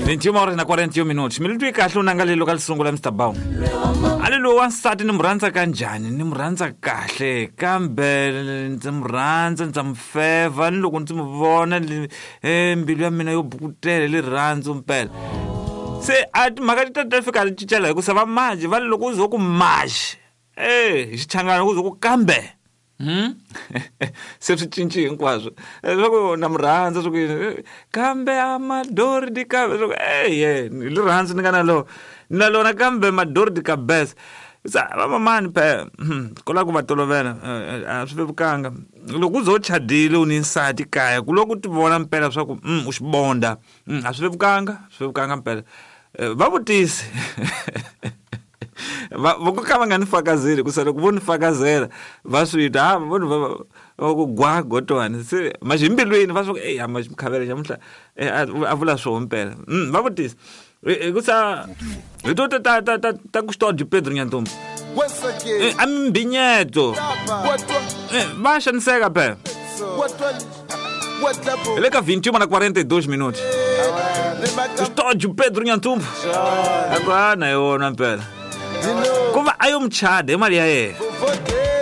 21 horas na 41 minutos. Mi twi kahle u nanga lelo ka lisungula Mr Bow. A li lowu wansati ni mu rhandza ka njhani? Ni mu rhandza kahle kambe ndzi mu rhandza ndza mu fevha ni loko ndzi mu vona mbilu ya mina yo bukutela hi rirhandzu mpela. Se a timhaka ti ta ta fika ti cincela hikusa va maji va loko u ze ku maji e hi xichangana ku ze ku kambe. Se swi cinci hinkwaswo leswaku na mu rhandza swa ku yini kambe a madori di kambe swa ku eye hi rirhandzu ni nga na lona ni na lona kambe madori di kabesa sa vamamani phe ku lava ku va tolovela a swi vevukanga loko u ze u chadile u ni nsati kaya ku loko u ti vona mpela swa ku u xibonda a swi vevukanga swi vevukanga mpela va vutisi va vo ka va nga ni fakazeli hikusa loko vo ni fakazela va swi twa ha vo ni va ku gwa gotwani se maxi mbilwini va swi ku eya maxi mukhavela xamuhla a vula swoho mpela va vutisa hikusa hi to ta ta ta ta ta ku xitodyo Pedro Nyantumbu a mimbinyeto va xaniseka phela hi le ka 21 na 42 minutos Custódio Pedro Nhantumbo a ku a na yona mpela ku va a yo muchada hi mali ya yena.